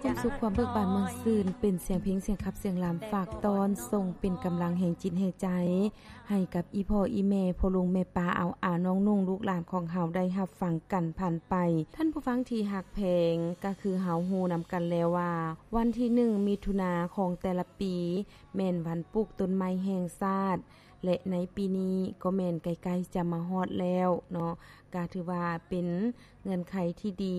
ຄວາມສຸກຄວາມເບີກບານມ່ວນຊື່ນ ເປັນສຽງເພງ ສຽງຂັບ ສຽງລຳ ຝາກຕ້ອນ ສົ່ງເປັນກຳລັງແຮງຈິດແຮງໃຈ ໃຫ້ກັບອີ່ພໍ່ອີ່ແມ່ ພໍ່ລຸງແມ່ປ້າ ອາວອາ ນ້ອງນຸ່ງ ລູກຫຼານຂອງເຮົາ ໄດ້ຮັບຟັງກັນຜ່ານໄປ. ທ່ານຜູ້ຟັງທີ່ຮັກແພງ, ກະຄືເຮົາຮູ້ນຳກັນແລ້ວວ່າ ວັນທີໜຶ່ງ ມິຖຸນາຂອງແຕ່ລະປີ ແມ່ນວັນປູກຕົ້ນໄມ້ແຫ່ງຊາດ ແລະ ໃນປີນີ້ກໍແມ່ນໃກ້ໆຈະມາຮອດແລ້ວເນາະ, ກະຖືວ່າເປັນເງື່ອນໄຂທີ່ດີ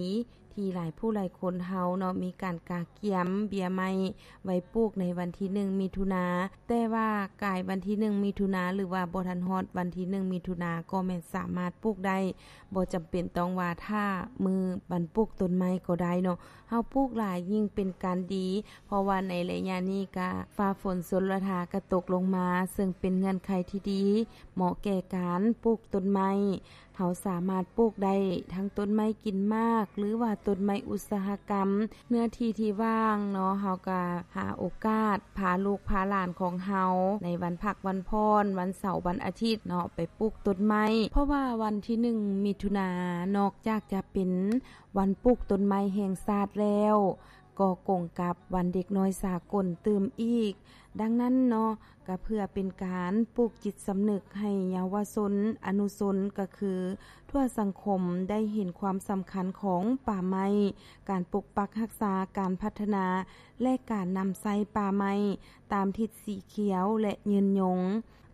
ທີ່ຫຼາຍຜູ້ຫຼາຍຄົນເຮົາເນາະ ມີການກະກຽມເບ້ຍໄມ້ໄວ້ປູກໃນວັນທີໜຶ່ງ ມິຖຸນາ, ແຕ່ວ່າກາຍວັນທີໜຶ່ງ ມິຖຸນາ ຫຼືວ່າບໍ່ທັນຮອດວັນທີໜຶ່ງ ມິຖຸນາ ກໍແມ່ນສາມາດປູກໄດ້, ບໍ່ຈຳເປັນຕ້ອງວ່າຖ້າມື້ວັນປູກຕົ້ນໄມ້ກໍໄດ້ເນາະ. ເຮົາປູກຫຼາຍຍິ່ງເປັນການດີ, ເພາະວ່າໃນໄລຍະນີ້ກະຟ້າຝົນຊົນລະທາກະຕົກລົງມາ, ເຊິ່ງເປັນເງື່ອນໄຂທີ່ດີ ເໝາະແກ່ການປູກຕົ້ນໄມ້. ເຮົາສາມາດປູກໄດ້ທັງຕົ້ນໄມ້ກິນໝາກ ຫຼືວ່າຕົ້ນໄມ້ອຸດສາຫະກຳ. ເນື້ອທີ່ທີ່ວ່າງເນາະ, ເຮົາກະຫາໂອກາດພາລູກພາຫຼານຂອງເຮົາ ໃນວັນພັກວັນຜ່ອນ, ວັນເສົາວັນອາທິດເນາະ, ໄປປູກຕົ້ນໄມ້, ເພາະວ່າວັນທີໜຶ່ງ ມິຖຸນາ ນອກຈາກຈະເປັນວັນປູກຕົ້ນໄມ້ແຫ່ງຊາດແລ້ວ, ກໍກົງກັບວັນເດັກນ້ອຍສາກົນຕື່ມອີກ. ດັ່ງນັ້ນເນາະ, ກະເພື່ອເປັນການປູກຈິດສຳນຶກໃຫ້ເຍົາວະຊົນ, ອະນຸຊົນ, ກະຄືທົ່ວສັງຄົມໄດ້ເຫັນຄວາມສຳຄັນຂອງປ່າໄມ້, ການປົກປັກຮັກສາ, ການພັດທະນາ ແລະ ການນຳໃຊ້ປ່າໄມ້ຕາມທິດສີຂຽວ ແລະ ຍືນຍົງ.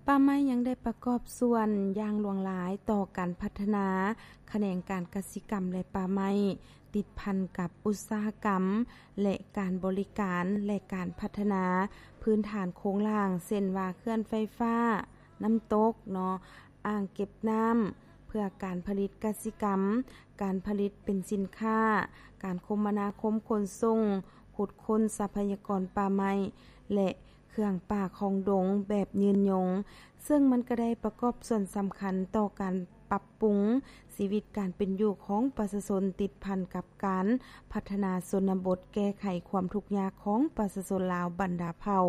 ປ່າໄມ້ຍັງໄດ້ປະກອບສ່ວນຢ່າງຫຼວງຫຼາຍຕໍ່ການພັດທະນາຂະແໜງການກະສິກຳ ແລະ ປ່າໄມ້, ຕິດພັນກັບອຸດສາຫະກຳ ແລະ ການບໍລິການ ແລະ ການພັດທະນາພື້ນຖານໂຄງລ່າງ, ເຊັ່ນວ່າ ເຂື່ອນໄຟຟ້າ, ນ້ຳຕົກເນາະ, ອ່າງເກັບນ້ຳ ເພື່ອການຜະລິດກະສິກຳ, ການຜະລິດເປັນສິນຄ້າ, ການຄົມມະນາຄົມຂົນສົ່ງ, ຂຸດຄົ້ນຊັບພະຍາກອນປ່າໄມ້ ແລະ ເຄື່ອງປ່າຂອງດົງແບບຍືນຍົງ, ເຊິ່ງມັນກະໄດ້ປະກອບສ່ວນສຳຄັນຕໍ່ການປັບປຸງຊີວິດການເປັນຢູ່ຂອງປະຊາຊົນ, ຕິດພັນກັບການພັດທະນາຊົນນະບົດ, ແກ້ໄຂຄວາມທຸກຍາກຂອງປະຊາຊົນລາວບັນດາເຜົ່າ.